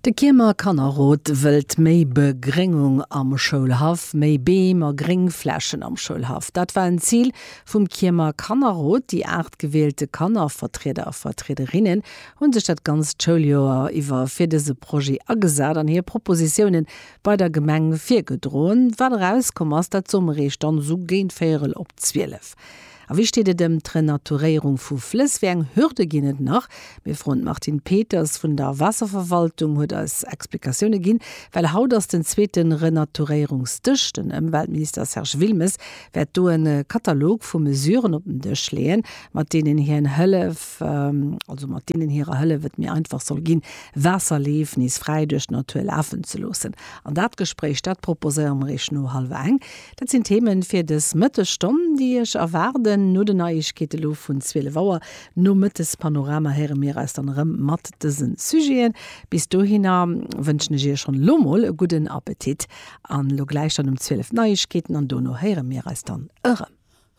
De Kiermer Kannerrot wëllt méi Begréngung am Schoulhaff, méi Beem a Gréngflächen am Schoulhaff. Dat war en Zil vum Kiermer Kannerrot. Déi 8 gewielte Kannervertrieder a Vertriederinnen hu sech dat ganzt Schouljoer iwwer fir dëse Projet agesat an hir Propositiounen bei der Gemeng virgedroen. Wat erauskomm ass, dat soe mer Iech dann esou géint véierel op 12. A wéi steet et ëm d'Renaturéierung vu Flëss? Wéi eng Hürde ginn et nach? Mir froen d'Martine Peters vun der Waasserverwaltung huet eis Explikatioune ginn, well haut ass den zweete Renaturéierungsdësch. Den Ëmweltminister Serge Wilmes wäert do e Katalog vu Mesuren op den Dësch leeën, mat deenen hien Hëllef, also mat deenen hirer Hëllef et méi einfach soll ginn, Waasserleef nees fräi duerch d'Natur lafen ze loossen. An dat Gespréich, dat proposéiere mer Iech no hallwer eng. Dat sinn d'Themen fir dës Mëttesstonn, déi Iech erwaarden. No den Neiegkeete lo vun 12 Auer, nom Mëttespanorama héiere mir eis dann erëm mat dëse Sujeten. Bis dohinner wënschen ech Iech schonn elo mol e gudden Appetit an elo gläich dann um 12 d'Neiegkeeten an dono héiere mir eis dann erëm.